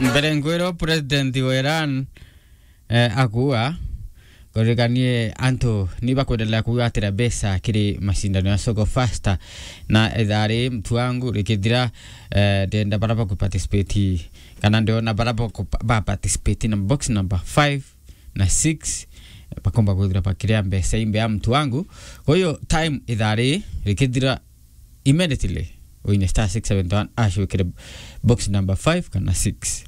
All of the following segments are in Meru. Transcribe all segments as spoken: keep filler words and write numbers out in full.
Mbere nkwirwa president wa Iran, eh, akua, kuririkanie antu ni bakwendelea kugwatira mbeca kiri macindano ya Soko Fasta, na ithaa ri mtu wangu rikithira, eh, ndenda bara baku participate, kana ndiona bara baku ba participate na box number five na six, bakomba kwithira bakiria mbeca imbe ya mtu wangu. Kwa hiyo time ithaa ri rikithira, immediately wine star six seven one hash wikire box number five kana six.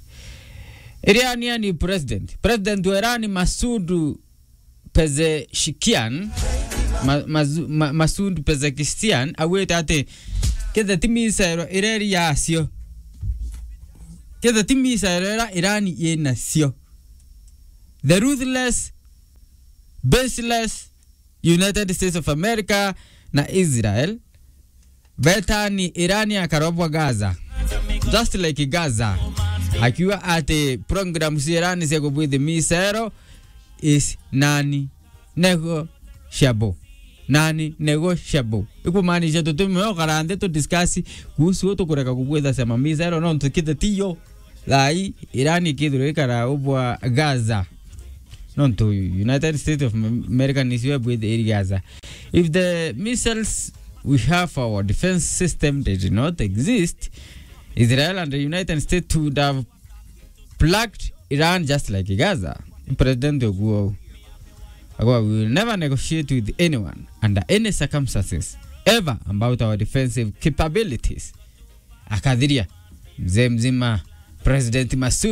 Iranian president, president wa Iran Masoud Pezeshkian, ma, mazu, ma, Masoud Pezeshkian augite ati kethe ti missile ireri yacio, kethe ti missile ira Iran inacio, the ruthless, baseless United States of America na Israel betani Iran akarobwa Gaza, just like Gaza, akiuga ati program cia Iran cia kubwithi missile is non-negotiable. Non-negotiable ikumaanisha tutimwe ukara nthi tu discuss kuhusu tukureka kubwitha cia mamisero, nontu kite tiyo. Thaa ii Iran ikithirwa ikara ubwa Gaza, nontu United States of America nicio ebwithiri Gaza. If the missiles we have for our defense system did not exist, Israel and the United States would have plugged Iran just like Gaza. President oguo agwa, "We will never negotiate with anyone under any circumstances ever about our defensive capabilities." Akathiria mzee mzima, President Masoud